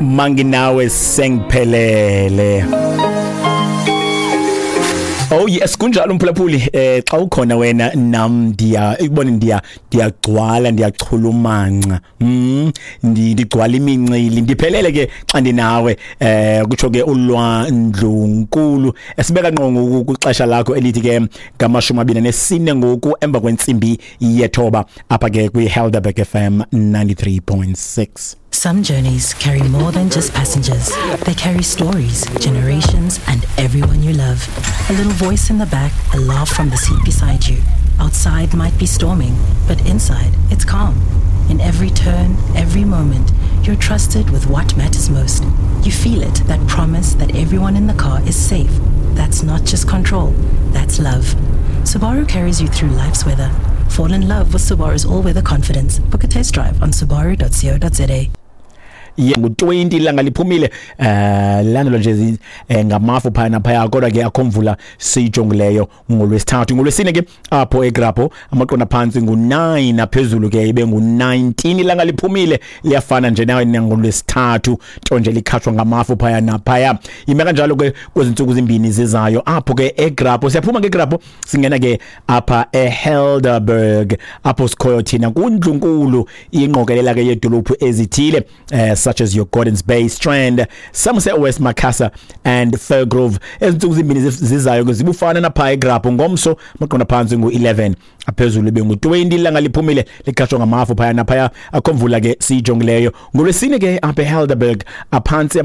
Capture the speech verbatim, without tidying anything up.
Manginawe sengiphelele. Oh yes, kunjalo umphulaphuli. eh xa ukhona wena nam ndiya ikubone, ndiya ndiyagcwala, ndiyachulumanca, mm ndigcwala imincili, ndiphelele ke xa ndinawe. eh kutsho ke ulwandlunkulu esibeka ngqo ngoku kwixesha lakho elithi ke ngamashumi abini nesine ngoku emva kwentsimbi yethoba apha ke kwi-Helderberg F M ninety-three point six. Some journeys carry more than just passengers. They carry stories, generations, and everyone you love. A little voice in the back, a laugh from the seat beside you. Outside might be storming, but inside it's calm. In every turn, every moment, you're trusted with what matters most. You feel it, that promise that everyone in the car is safe. That's not just control, that's love. Subaru carries you through life's weather. Fall in love with Subaru's all-weather confidence. Book a test drive on subaru dot co dot za. ngu-twenty, ilanga liphumile, eh landelwa nje eh, ngamafu phaya naphaya, kodwa ke akho mvula siyijongileyo ngolwesithathu. Ngolwesine ke apho eGrabho amaqondo phantsi ngu-nine, aphezulu ke ibe ngu-nineteen, ilanga liphumile, liyafana nje nawe nangolwesithathu, nto nje likhatshwa ngamafu phaya naphaya. Ime kanjalo ke kwezi ntsuku zimbini zizayo apho ke eGrabho. Siyaphuma ke eGrabho, singena ke apha eHelderberg apho sikhoyo thina kundlunkulu, ingqokelela ke yedolophu ezithile eh, such as your Gordons Bay, Strand, Somerset West, Macassar and Firgrove. Ezintsuku zimbini zizayo ke zibufana napha eGrabho. Ngomso amaqondo phantsi ngu-eleven, aphezulu bengu-twenty, ilanga liphumile, likhatshwa ngamafu phaya naphaya, akho mvula ke siyijongileyo. Ngolwesine ke apha eHelderberg aphantsi